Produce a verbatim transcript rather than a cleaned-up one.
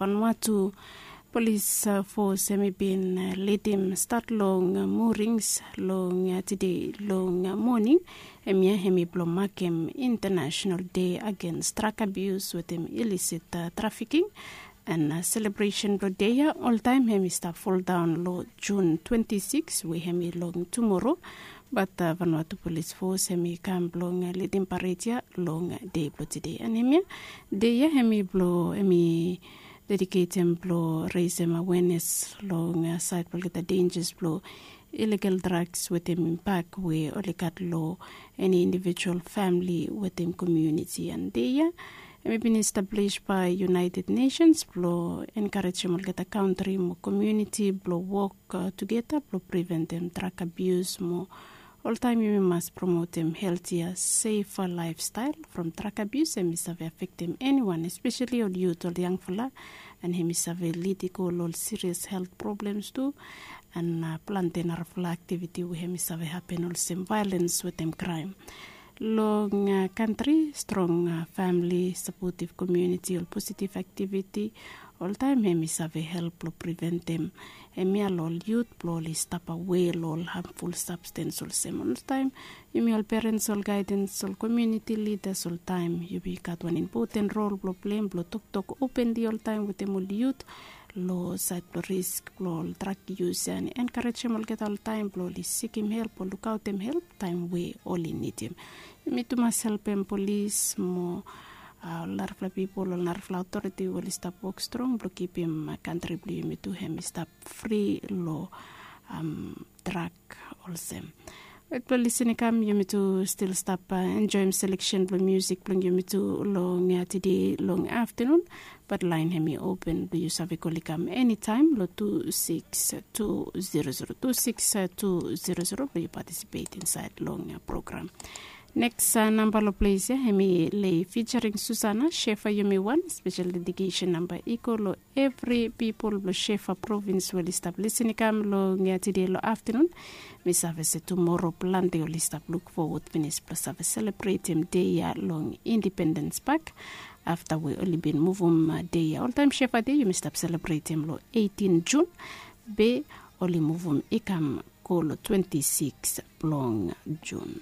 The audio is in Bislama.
Vanuatu Polis Fos hemi bin lidim stat long morings long tide long moning. Hemia hemi blong makem International Day Against Drug Abuse wetem illicit trafiking. An selebresen blong dei ya oltaem hemi stap foldaon long Jun twenti sikis we hemi long tumoro. Bat Vanuatu Polis Fos hemi kam blong lidim pared ya long dei blong tide. An hemia dei ya hemi blong hemi dediketem blong resem awenes long saed blong olgeta denjas blong iligal drags wetem imbak we oli gat long eni indivijual famili wetem komuniti. An dei ya hemi bin establis bae United Nesens blong enkarejem olgeta kantri mo komuniti blong wok tugeta blong priventem drag abius mo oltaem yumi mas promotem heltia sefa laefstael from drag abius. Hemi save afektem eniwan, espeseli ol yut, ol yangfala, an hemi save lid i go long ol sirias helt problems tu. An plante narafala aktiviti we hemi save hapen olsem vaelens wetem kraem long kantri. Strong famili, sapotiv komuniti, ol positiv aktiviti oltaem hemi save help blong priventem hemia long ol yut blong oli stap awe long ol hamful sabstens olsem. Oltaem yumi ol perens, ol gaedens, ol komuniti lidas, oltaem yumi gat wan impoten rol blong plem blong toktok openli oltaem wetem ol yut long saed blong risk blong ol drag yus ya, an enkarejem olgeta oltaem blong oli sikim help o lukaotem help taem we oli nidim. Yumi tu mas helpem polis mo ol narafala pipol, ol narafala otoriti we oli stap wok strong blong kipim kantri blong yumi tu hemi stap fri long drag olsem. Wet blong lisin i kam, yumi tu stil stap enjoem seleksen blong musik blong yumi tu long tide long aftanun. Bat laen hemi open blong yu save kol i kam enitaem long tu siks tu zero zero, tu siks tu zero zero blong yu patisipet insaed long program. Neks namba long ples ya hemi Lei featuring Susana, Shefa Yumi Wan. Spesel dedikesen namba i go long evri pipol blong Shefa provins we oli stap lisin i kam long tide long aftanun. Mi save se tumoro plante oli stap luk fowod finis blong save selebretem dei ya long Indipendens Pak afta we oli bin muvum dei ya. Oltaem Shefa Dei yumi stap selebretem long eitin Jun, be oli muvum i kam go long twenti siks blong Jun.